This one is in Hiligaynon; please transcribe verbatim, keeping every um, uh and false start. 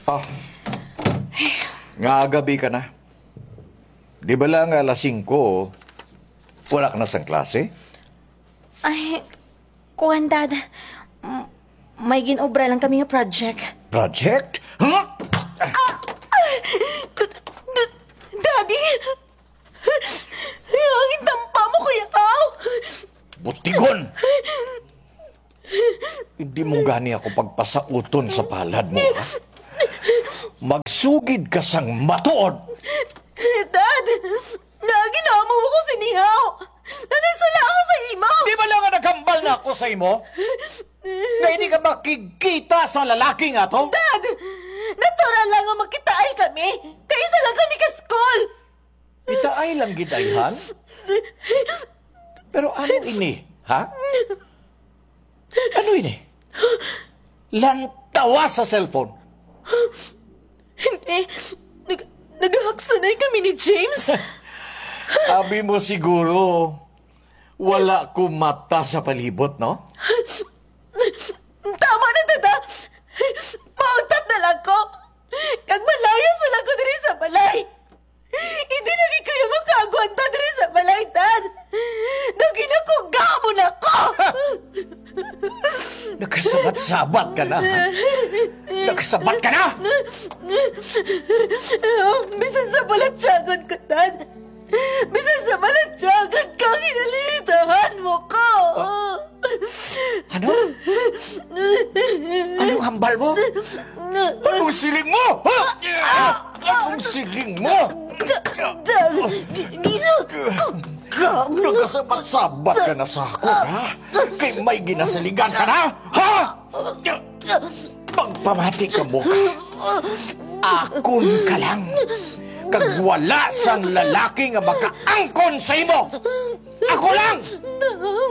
Ah, nga gabi ka na. Di ba lang alas singko, wala ka na sang klase? Ay, kuwan, Dad. M- may ginobra lang kami nga project. Project? Huh? D- d- Daddy! Ang intampa mo, Kuya Pao! Butigon! Hindi mo gani ako pagpasauton sa palad mo, ha? Magsugid ka sang matuod! Dad! Naginamu ko sinihaw! Nanisala ako sa imo! Di ba lang nga naghambal na ako sa imo? Nga hindi ka makigkita sa lalaki nga to? Dad! Natural lang nga magkitaay kami! Kay isa lang kami ka school! Itaay lang gid ayhan? Pero ano ini, ha? Ano ini? Lantawa sa cellphone. Hindi. Nag nagahaksanay kami ni James. Abi mo siguro, wala ko mata sa palibot, no? Tama na, Dada. Mauntat na lang ko. Kag malayas na lang ko diri sa balay. Hindi na gid kayo makaagwanta diri sa balay, Dad. Naginakuga mo na ko! Nakasabat-sabat ka na, ha? Nakasabat ka na! Bisan sa balatyagon ko, Dad. Bisan sa balatyagon ko, ginalilitahan mo ko. Ah. Ano? Anong hambal mo? Anong siling mo? Ha? Anong siling mo? Dad, gi- ginakuga mo. Nagasabat-sabat ka na sa ako, ha? Kay may ginasaligan ka na, ha? Magpamati ka mo. Akon ka lang. Kag wala sang lalaki nga makaangkon sa imo. Ako lang!